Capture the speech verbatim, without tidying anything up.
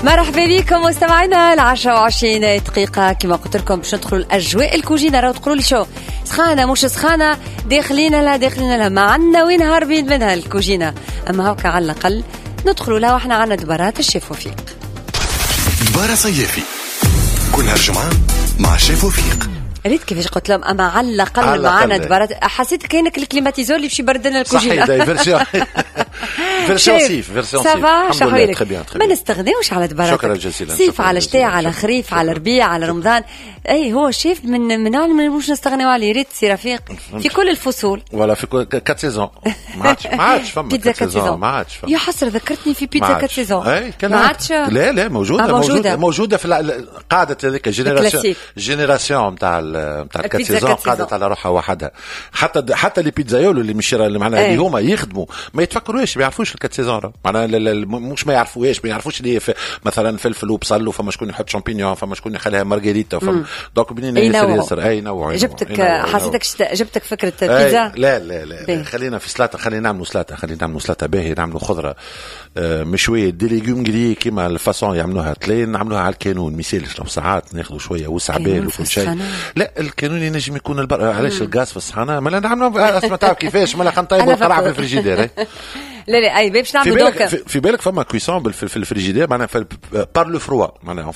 مرحبا بكم مستمعينا، العشرة وعشرين دقيقة. كما قلت لكم باش ندخلوا الأجواء الكوجينة. راهو تقولوا لي شو سخانة مش سخانة، داخلين لها داخلين لها، ما عندنا وين هاربين منها الكوجينة. أما هوكا على الأقل ندخلوا لها واحنا عندنا دبارات الشيف وفيق. دبارة صيافي كل هالجمعة مع الشيف وفيق. ريت كيفاش قلت لهم اما على الاقل معنا دبارات، حسيت كانك ال climatiseur اللي باش يبرد لنا الكوجينه. صحيح، version version صيف، version صيف. ça va؟ شحوالك؟ ما نستغناوش على دبارات. شكرا جزيلا. صيف على شتاء، على خريف، على ربيع، على رمضان. اي هو شيف من من نوع مش نستغناو عليه. ريت سي رفيق في كل الفصول. voilà، في كل quatre saisons. ما عادش ما عادش فما بيتزا quatre saisons. ما عادش فما. يا حسرة، ذكرتني في بيتزا quatre saisons. اي. ما عادش. لا لا، موجوده. موجوده موجوده في قاعدة هذيك génération génération نتاع نتاع ال quatre saisons قعدت على روحها وحدها. حتى حتى les pizzaiolos اللي مش اللي معناها اللي هما يخدموا ما يتفكروش، ما يعرفوش ال quatre saisons. معناها مش ما يعرفوهاش، ما يعرفوش اللي مثلا فلفل وبصل، وفما شكون يحط champignons، فما شكون يخليها مارغريتا، فما donc بنينه ياسر ياسر. اي نوع. جبتك، حسيتك جبتك فكرة بيتزا. لا لا لا، خلينا في سلطه، خلينا نعملوا سلطه، خلينا نعملوا سلطة باهي، نعملوا خضرة آه، مشويه، des légumes grillés كيما ال façon يعملوها تلين، نعملوها على الكانون. ما يسالش لو ساعات ناخذوا شوية وسع بال وكل شيء. لا، الكانون ينجم يكون البر. علاش الغاز في الصحنه؟ ما نعملوا، اسمع، تعرف كيفاش؟ ما خلينا نطيبوا القرعة في الفريجيدير. لا لا، اي باش نعملوا. donc في بالك فما cuisson في الفريجيدير، معناها par le froid، معناها.